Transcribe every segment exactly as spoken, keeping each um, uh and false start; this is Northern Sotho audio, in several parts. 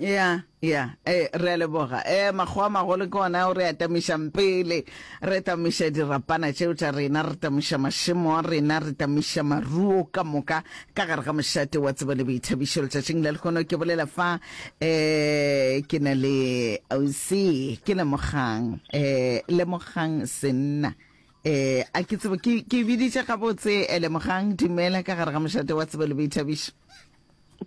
Ya, ya, eh, re a leboga. Eh, makgowa a magolo ke ona ao re a tamišang pele. Re tamiša dirapana tšeo tša rena, re tamiša mašemo a rena, re tamiša maruo ka moka ka gare ga mošate wa tsebo le boithabišo. Letšatšing la lehono ke bolela fa, eh, ke na le ausi, ke Lemogang, eh, Lemogang Senna. Eh, a ke tsebe, ke, ke biditše gabotse, eh, Lemogang, dumela ka gare ga mošate wa tsebo le boithabišo.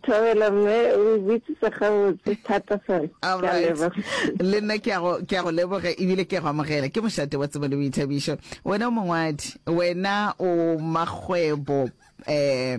Thobela mme, o e bitsitse gabotse thata fela. All Ke a right. leboga. Le nna ke a go, ke a go leboga ebile ke a go amogela. Ke mošate wa tsebo le boithabišo. Wena o mongwadi, wena o makgwebo, eh,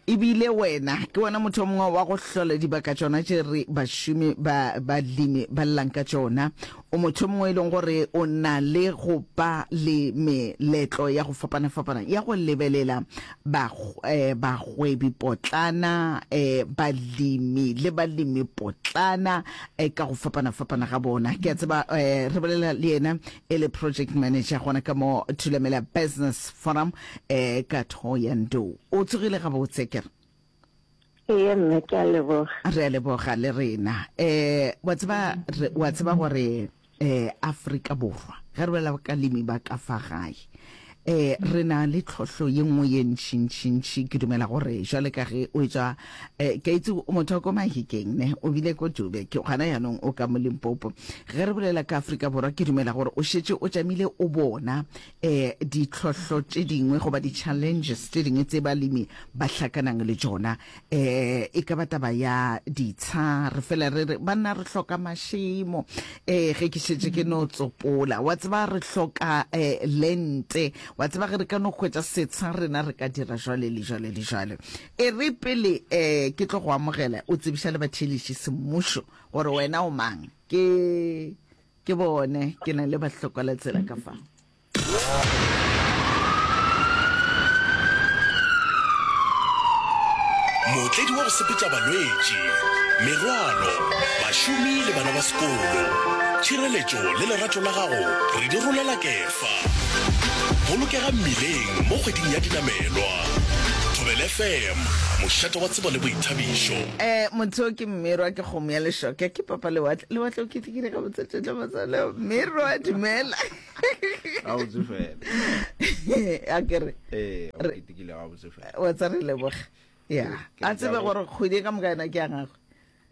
ebile wena ke wena motho o mongwe wa go hlola dibaka tšona tše re bašomi ba balemi ba llang ka tšona. O motho o mongwe e leng gore o na le go ba le meletlo ya go fapana-fapana ya go lebelela ba, eh, bagwebi-potlana, eh, balemi le balemi-potlana eh, ka go fapana-fapana ga bona. Ke a tseba eh, re bolela le yena e le project manager gona ka mo Thulamela Business Forum eh, ka Thohoyandou. O tsogile gabotse ke re? Ee mme, ke a leboga. Re a leboga le rena. Eh, wa tseba, re, wa tseba gore eh, Afrika Borwa, ge re bolela ka lemi ba ka fa gae, eh, re na le tlhohlo ye nngwe ye ntšintšintši. Ke dumela gore jwale ka ge o etšwa, eh, ke a itse o motho wa ko Mahikeng, ne, o bile ko Dube, ke gona jaanong o ka mo Limpopo. Ge re bolela ka Afrika Borwa, ke dumela gore o šetše o tšamile o bona eh, ditlhohlo tše dingwe goba di-challenges tše dingwe tse balemi ba hlakanang le tšona. Eh, e ka ba taba ya ditsha, re fela re re banna re hloka mašemo. Eh, ge ke šetše ke no tsopola, wa tseba re hloka eh, lente, wa tseba ge re ka no hwetša setsha rena re ka dira jwale le jwale le jwale. E re pele eh, ke tlo go amogela, o tsebiša le batheeletši semmušo gore wena o mang. Ke ke bone ke na le bahlokwalatsela ka fa. Mootledi wa go sepetša balwetši, merwalo, bašomi le bana ba sekolo. Tšhireletšo le lerato la gago re di rolela kefa. Bolokega mmileng mo kgweding ya dinamelwa. Thobela F M, mošate wa tsebo le boithabišo. Eh, motho ke Mmerwa, ke kgomo ya lešoka, ke papa lewatle. Lewatle o ketekile gabotse tšohle matswalo. Mmerwa, dumela. Gabotse fela. A ke re. Eh, o Re- ketekile gabotse fela. Wa tsa re leboga. Ya. Ke A tsebe re- gore kgwedi ka moka yona ke ya gagwe.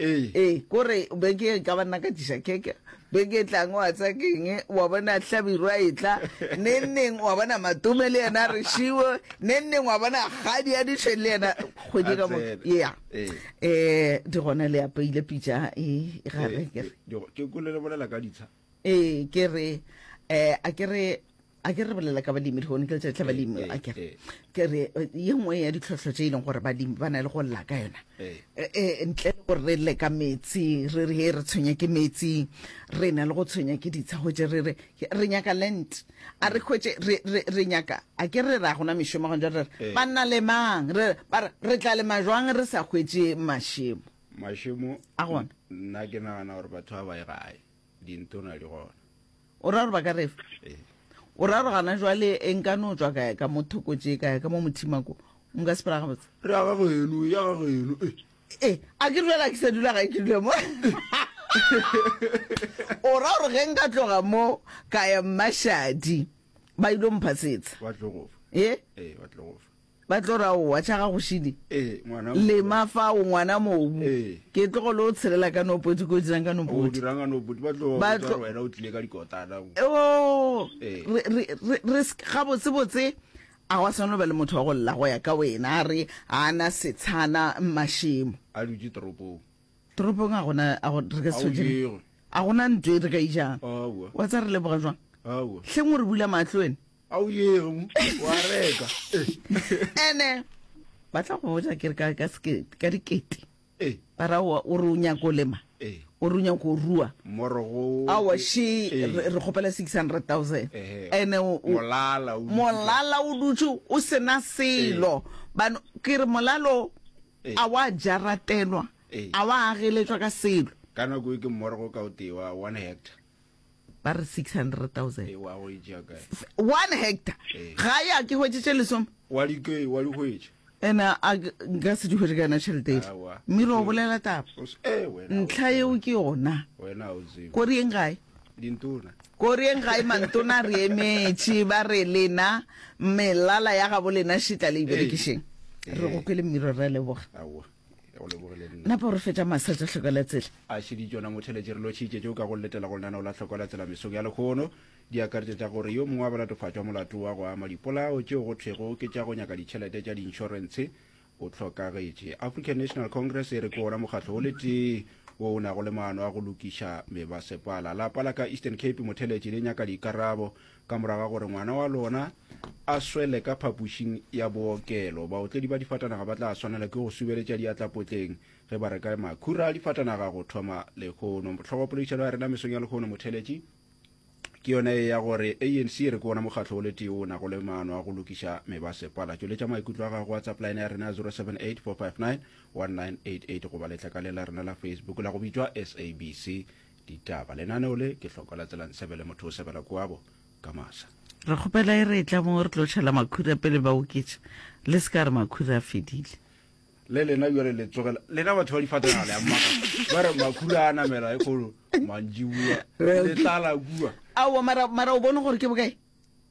Ee. Ee, kore beke e ka ba nna ka tliša keke. Beke e tlang wa tsa keng, wa bona Hlabirwa e tla, neng neng wa bona Matome le yena a re šiwo, neng neng wa bona Kgadi a ditšhwene le yena kgwedi A ka moka. tsena. Ya. Ee. Eh, di gona le apeile pitša e e gare Ee, ke re. di- ke kwele le bolela ka ditsha. Ee, ke re eh a ke re a ke re bolela ka balemi lehono ke letšatši la balemi, Ee, a ke re ee. ke re eh, ye nngwe ya ditlhohlo tše e leng gore balemi ba na le go lla ka yona Ee. Eh, eh, ntle le gore re lle ka metsi, re re he re tshwenya ke metsi, re na le go tshwenya ke ditsha, hwetše re re re nyaka land, a re hwetše re, re, re nyaka, a ke re ra gona mešomo gona jwale, re re Ee. banna lemang, re ba re re tla lema jwang re sa hwetše mašemo Mašemo a gona. Nna ke nagana gore batho ba ba ye gae, dintona di gona. O ra gore ba ka re fa? Ee. O ra gore gana jwale e nka no tšwa ka ya ka mo Thokotše, ka ya ka mo Mothimako, nka se phela gabotse? Re ya ga geno, ya ga geno, eh. Eh, a ke dula ke sa dula gae, ke dula mo. O ra gore ge nka tloga mo ka ya Mmashadi, ba ile mpha setsha. Ba tlo go fa. Eh? Eh, ba tlo go fa. Ba tlo ra owa tša gago šidi. Eh, ngwana Lema fa o ngwana mobu. Eh. Ke tlogo le o tshelela ka no podi, ko dirang ka no O podi. dirang ka no podi, ba tlo Ba botsa tlo gore wena o tlile ka dikotana. Oh, Eh. re, re, re, re se, gabotse botse a gwa swanelo ba le motho wa go lla go ya ka wena, a re a na setshana mašemo. A dutše toropong. Toropong a gona, a go, re ka se A o tshwetše. jege. A gona ntho e re ka e jang. Aowa. Wa tsa re leboga jwang? Aowa. Hleng o re bula mahlo wena. A o yege mo, wa reka. Ene ba tla go botša ke re ka, ka seke, ka dikete. Eh. Ba ra o, o re o nyaka o lema. Eh. O re o nyaka o rua. Morogo. Aowa, she, Eh. re, re kgopela six hundred thousand. Ehe. Ene o, o, Molala o dutše. Molala o dutše o sena selo. Eh. Bano, ke re molalo Eh. a wa jaratelwa, Eh. a wa ageletšwa ka selo. Ka nako e ke morogo ka o tee wa one hectare. Ba re six hundred thousand. E, wa go e tšea kae? One hectare. Eh. Ga ya ke hwetše tše lesome. Wa di ke, wa di hwetša. Ene a nka se di hwetše ka yona tšhelete ele. Aowa. Mmiri o bolela taba. O se- eh, wena o Ntlha tsebe. yeo ke yona. Wena o tsebe. Ko re yeng gae? Dintona. Ko re yeng gae mantona re emetše ba re lena melala ya gabo lena šitla le e berekišeng. Re go kwele mmiro re a leboga. Aowa. Go lebogile nna. Napa o re fetša masa tša hloka la tsela. A šedi tšona motheletše re lotšhitše tšeo ka go letela go lenaneo la Hloka la Tsela mesong ya lekgono. Di akaretša tša gore yo mongwe wa balatofatšwa molato wa go ama dipolao tšeo go thwego ke tša go nyaka ditšhelete tša diinšorentshe o hlokagetše. African National Congress e re ke wona mokgatlo o le tee wo o nago le maano a go lokiša mebasepala. Lapa la ka Eastern Cape motheletše le nyaka dikarabo ka morago ga gore ngwana wa lona a swele ka phapošing ya bookelo. Baotledi ba difatanaga ba tla swanela ke go subeletša diatla potleng ge ba reka makhura a difatanaga go thoma lehono. Hlogopoledišano ya rena mesong ya lehono motheletši ke yona e ya gore A N C e re ke wona mokgatlo o le tee o nago le maano a go lokiša mebasepala. Tšweletša maikutlo a gago WhatsApp line ya rena ya zero seven eight four five nine one nine eight eight goba letlakale la rena la Facebook la go bitšwa S A B C Ditaba. Lenaneo le ke Hloko la Tsela Nsebele, motho o sebela kwabo ka masa. Re kgopela e re etla mo re tlo tšhela makhura pele ba oketša. Le se ka re makhura a fedile. Le lena bjale le tsogela lena batho ba difatanaga le a mmaka ba re makhura a namela e kgolo mantšibua le tlala kua. Aowa, mara, mara o bone gore ke bokae?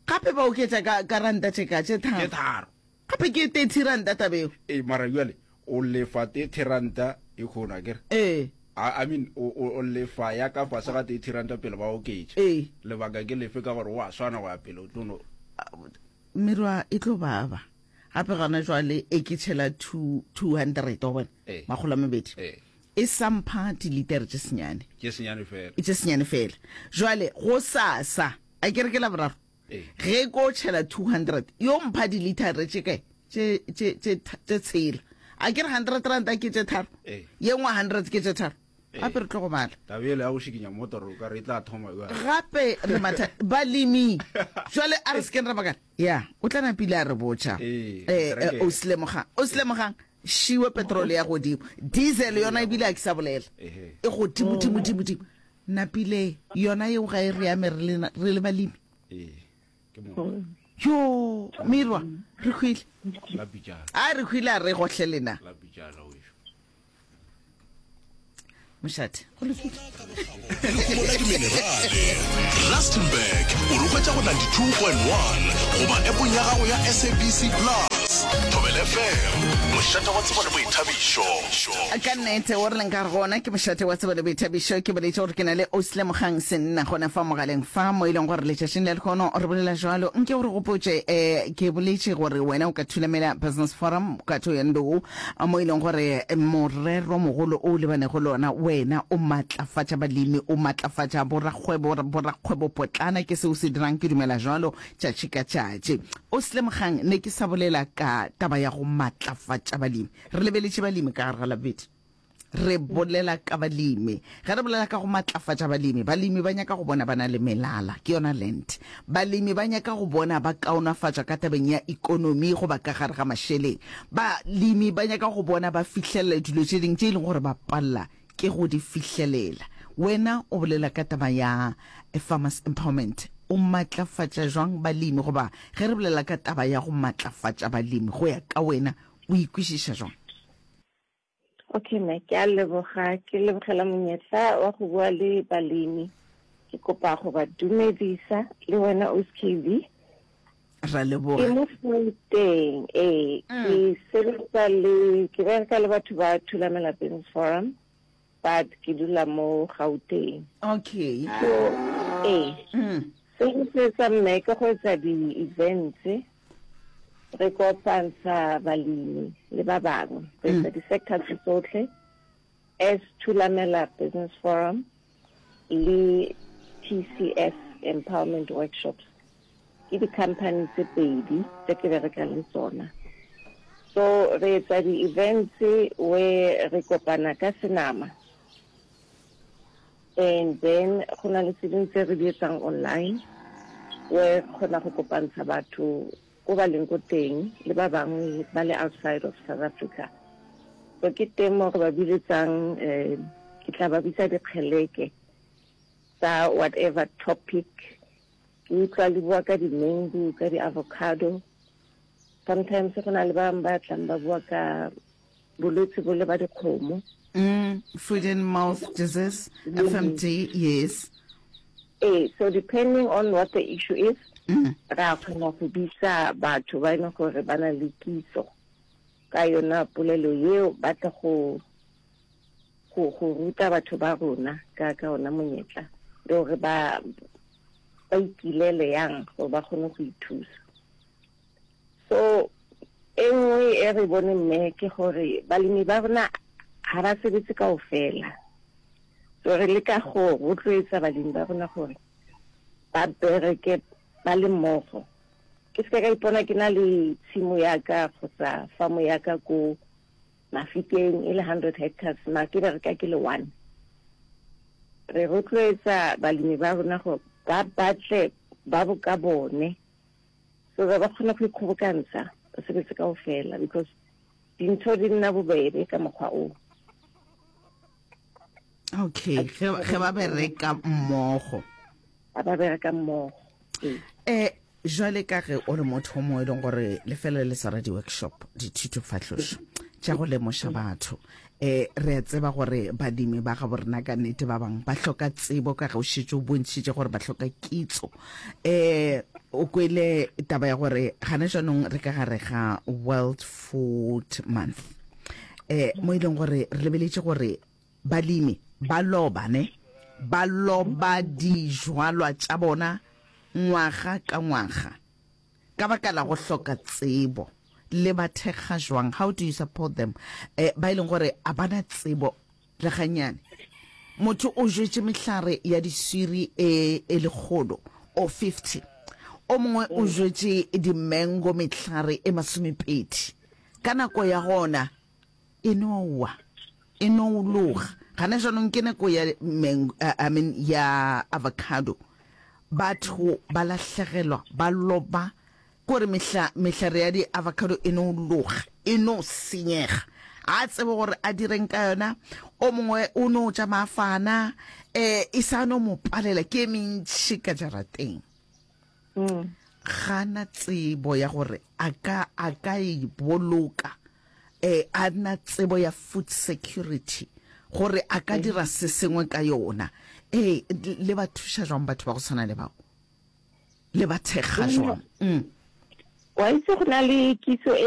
Gape ba oketša ka, ka ranta tše ka, tše tharo. Tše tharo. Gape ke thirty ranta tabeo. Ee, mara bjale o lefa thirty ranta e kgolo akere? Ee. I, I mean, o, o, o lefa ya ka fase ga thirty ranta pele ba oketša. Ee. Lebaka ke lefe ka gore o a swana go ya pele o tlo no. Merwa e tlo baba. Gape gona jwale e ke tšhela two, two hundred, wa bona? Ee. Makgolo a mabedi. Ee. E sa mpha dilitere tše senyane. Tše senyane fela. Tše senyane fela. Jwale go sasa, a ke re ke Laboraro? Ee. Ge ko tšhela two hundred, yo mpha dilitere tše kae? Tše, tše, tše, tše tshela. A ke re hundred ranta ke tše tharo? Ee. Ye nngwe hundred ke tše tharo. Ee. Gape re tlo go bala. Taba ele ya go šikinya motoro o ka re e tla thoma bjale. Gape re matha balemi. Jwale a re se keng ra bakala. Ya, o tla napile a re botša. Ee, Eh, eh, tracker. o se lemogang. O se lemogang. Šiwe petrol ya godimo. Diesel yona ebile a ke sa bolela. Ehe. E godimo, dimo, dimo, dimo. Napile yona yeo ga e re ame re le, re le balemi. Ee, ke mo. Yo, Mirwa, re hwile. La pitšana. A re hwile a re gohle lena. La pitšana wešo. Mošate, go lokile. Lehumo la diminerale. Rustenburg, o re hwetša go ninety-two point one goba appong ya gago ya S A B C Plus. Thobela F M, mošate wa tsebo le boithabišo. Ka nnete, o re leng ka gona ke mošate wa tsebo le boithabišo. Ke boletše gore ke na le Osle Mogang Senna gona fa mogaleng fa mo e leng gore letšatšing la lehono re bolela jwalo. Nke o re gopotše, eh, ke boletše gore wena o ka thulamela Business Forum ka Thohoyandou mo e leng gore morero mogolo o lebanego le ona wena o matlafatša balemi, o matlafatša borakgwebo, borakgwebo potlana, ke seo se dirang, ke dumela jwalo tšatši ka tšatši. O se lemogang, ne ke sa bolela ka taba ya go matlafatša balemi. Re lebeletše balemi ka gare ga Labobedi. Re bolela ka balemi. Ge re bolela ka go matlafatša balemi, balemi ba nyaka go bona ba na le melala, ke yona land. Balemi ba nyaka go bona ba kaonafatšwa ka tabeng ya ikonomi goba ka gare ga mašeleng. Balemi ba nyaka go bona ba fihlelela dilo tše dingwe tše e leng gore ba palela ke go di fihlelela. Wena o bolela ka taba ya farmers empowerment. O matlafatša jwang balemi, goba ge re bolela ka taba ya go matlafatša balemi, go ya ka wena o ikwešiša jwang? Okay, mme, ke a leboga, ke lebogela monyetla wa go bua le balemi. Ke kopa go ba dumedisa le wena O S K V. Ra leboga. Ke mo Gauteng, ee, Mm. ke sebetsa le, ke bereka le batho ba Thulamela Business Forum, but ke dula mo Gauteng. Okay. So, ee. Mm. Se ke se etsang mme ke go etsa di-events, re kopantsha balemi le ba bangwe, re etsa Mm. di-sector tse tsotlhe as Thulamela Business Forum le T C S Empowerment Workshops. Ke di-company tse pedi tse ke berekang le tsona. So re etsa di-events where re kopana ka senama, and then go na le tse dingwe tse re di etsang online where re kgona go kopantsha batho ko ba leng ko teng le ba bangwe ba le outside of South Africa. So ke teng mo re ba biletsang, eh, ke tla ba bitsa dikgeleke tsa whatever topic. Ke utlwa le bua ka di-mango, ka di-avocado. Sometimes go na le ba bangwe ba tlang ba bua ka bolwetse bo le ba dikgomo. Mm, foot and mouth disease, F M D, yes. Ee, so depending on what the issue is, mm. ra kgona go bitsa batho ba e leng gore ba na le kitso ka yona polelo yeo, ba tle go go go ruta batho ba rona ka ka ona monyetla le gore ba ba ikilele yang gore ba kgone go ithusa. So e nngwe e re bone, mme, ke gore balemi ba rona ga ba sebetse kaofela. So re leka go rotloetsa balemi ba rona gore ba bereke ba le mmogo. Ke se ka ipona ke na le tshimo ya ka kgotsa famo ya ka ko Mafikeng e le hundred hectares, ma ke bereka ke le one. Re rotloetsa balemi ba rona gore ba batle ba bo ka bone, so ba ba kgone go ikgobokantsha, ba sebetse kaofela, because dintho di nna bobebe ka mokgwa o. Okay, ge ge ba bereka mmogo. Ba ba bereka mmogo, ee. Eh jwale ka ge o le motho o mo e leng gore le fela le swara di-workshop, dithutofahlošo tša go lemoša batho, eh re a tseba gore badimi ba ga borena ka nnete ba bangwe ba hloka tsebo, ka ge o šetše o bontšhitše gore ba hloka kitso. eh o kwele taba ya gore gana jaanong re ka gare ga World Food Month, eh mo e leng gore re lebeletše gore balemi ba loba ne ba loba dijwalwa tša bona ngwaga ka ngwaga ka baka la go hloka tsebo. Le ba thekga jwang? How do you support them, eh ba e leng gore a bana tsebo le ganyane? Motho o jwetše mehlare ya diswiri e e lekgolo o fifty, o mongwe o jwetše di-mango mehlare e masomepedi, ka nako ya gona e no wa, e no loga. Gana jaanong ke nako ya mango, uh, I mean ya avocado, batho ba lahlegelwa, ba loba kore mehla mehlare ya di-avocado e no loga, e no senyega, a tsebe gore a direng ka yona. O mongwe o no tša mafana, um e sa no mo palela, ke e mentšhi ka jarateng, mm. gana tsebo ya gore a ka a ka e boloka, eh a na tsebo ya food security gore a ka dira se sengwe ka yona. Eh le ba thuša jwang batho ba go tshwana le bao? Le ba thekga jwang? mm. Wa itse, go na le kitso e